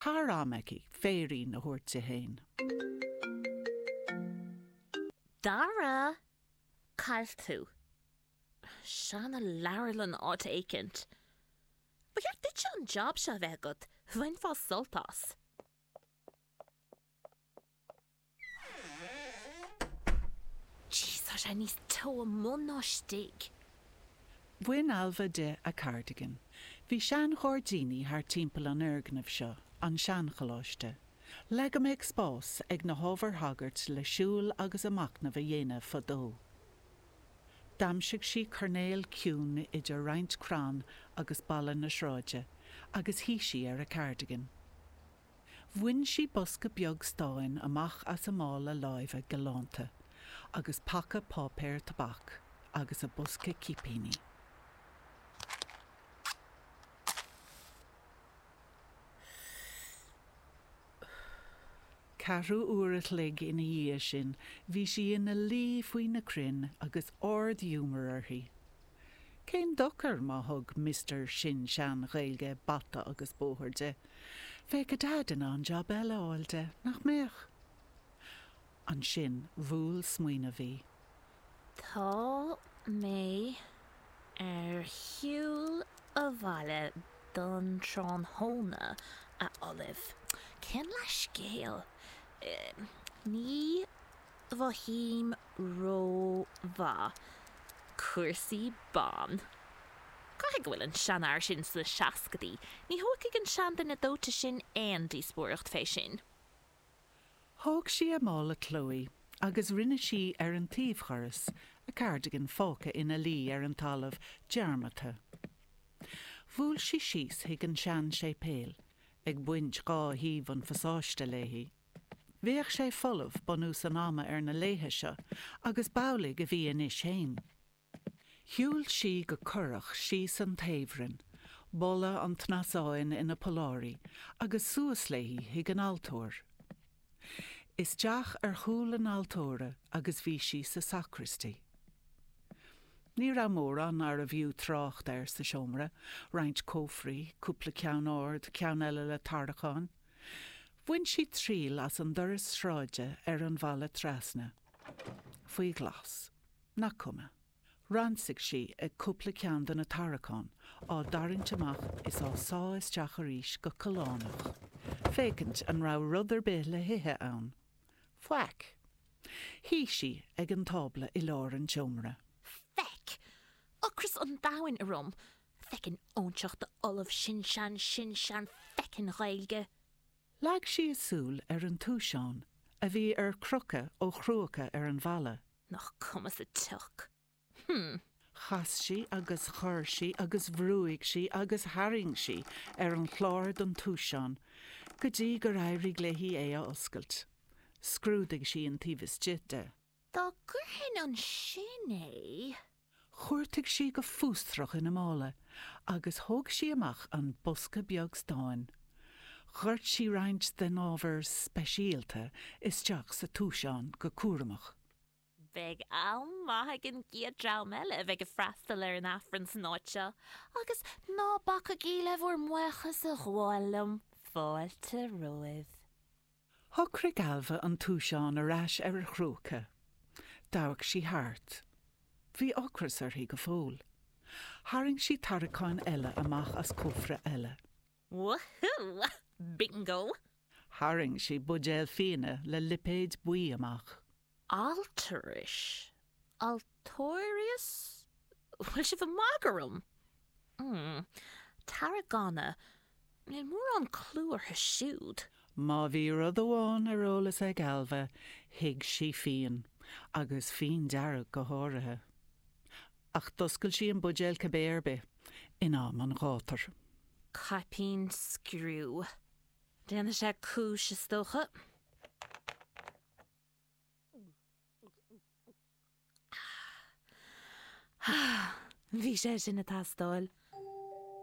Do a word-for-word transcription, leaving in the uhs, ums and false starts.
Thar am aici féirín a thabhairt di féin. Dara! Cá bhfuil tú? Seana-leabharlann áit éicint. Ba cheart duitse an job seo a bheith agat, bhainfeá sult as. Jeez, tá sé níos teo amuigh ná istigh. Bhain Ailbhe di a cardigan. Bhí seanghairdíní thar timpeall an fhoirgnimh seo, an seancholáiste, le go mbeadh spás ag na hábhair shagairt le siúl agus a machnamh a dhéanamh fadó. D'aimsigh sí coirnéal ciúin idir roinnt crann agus balla na sráide agus shuigh sí ar a cardigan. Bhain sí bosca beag stáin amach as a mála láimhe galánta agus paca páipéir tobac agus a bosca cipíní. Ceathrú uair a chloig ina dhiaidh sin bhí sí ina luí faoi na crainn agus ard-ghiúmar uirthi. Cén dochar má thug Mister Sin-Sean-Ghaeilge bata agus bóthar di? Bheadh a Daid in ann jab eile a fháil di, nach mbeadh? Ansin bhuail smaoineamh í. Tá mé ar shiúl abhaile don tráthnóna, a Ollaimh. Cén leithscéal? Ní mhothaím rómhaith. Cúrsaí ban. Caithfidh go bhfuil an seanfhear sin sna seascaidí. Ní thógfaidh an seanduine dóite sin aon díospóireacht fé sin. Thóg sí a mála Chloe agus rinne sí ar an taobhdhoras, a cardigan fágtha ina luí ar an talamh dearmadta. Bhuail sí síos chuig an sean-séipéal, ag baint dhá thaobh an phasáiste léi. Bheadh sé folamh bunús an ama ar na laethe seo agus b'amhlaidh a bhí anois fhéin. Shiúil sí go corrach síos an taobhroinn, boladh an tsnasáin ina polláirí, agus suas léi chuig an altóir. Isteach ar chúl an altóra agus bhí sí sa sacristy. Ní raibh mórán arbh fhiú trácht air sa seomra, roinnt cófraí, cúpla ceann ard, ceann eile le tarraiceáin. Bhain sí triail as an doras sráide ar an bhalla trasna. Faoi ghlas. Nach cuma. Ransaigh sí ag cúpla ceann de na tarraiceáin, á dtarraingt amach is á sá isteach arís go callánach, féachaint an raibh rud ar bith le hithe ann. Faic. Shuigh sí ag an tábla i lár an tseomra. Feck! Ocras an domhain orm! Feckin' óinseach d'Ollamh sin-sean-sin-sean feckin' Ghaeilge! Leag sí a súil ar an túiseán, a bhí ar crochadh ó chruacha ar an bhalla. Nach cuma sa tsioc. Hm. Chas sí agus chuir sí agus bhrúigh sí agus tharraing sí ar an chlár don túiseán go dtí gur éirigh léi é a oscailt. Scrúdaigh sí an taobh istigh de. Dá gcuirfinn ansin é. Chuartaigh sí go fiosrach ina mála agus thóg sí amach an bosca beag stáin. Dhoirt sí roinnt den ábhar speisialta isteach sa túiseán go cúramach. Beidh am maith ag an gcéad dream eile a bheidh ag freastal ar an Aifreann san áit seo, agus ná bacaigí le bhur mbuíochas a ghabháil liom, fáilte romhaibh. Shocraigh Ailbhe an túiseán ar ais ar a chruacha. D'amharc sí thart. Bhí ocras uirthi go fóill. Tharraing sí tarraiceán eile amach as cófra eile. Woohoo! Bingo! Tharraing sí buidéal fíona le lipéad buí amach. Altaris? Altóirius? Bhfuil sibh ag magadh orm? Mm. Tarragona? Níl mórán clú orthu siúd. Má bhí rud amháin ar eolas ag Ailbhe, thuig sí fíon, agus fíon dearg go háirithe. Ach d'oscail sí an buidéal cibé ar bith, in am an ghátair. Caipín scriú. Déanfaidh sé cúis, is dócha. Bhí sé sin ag teastáil.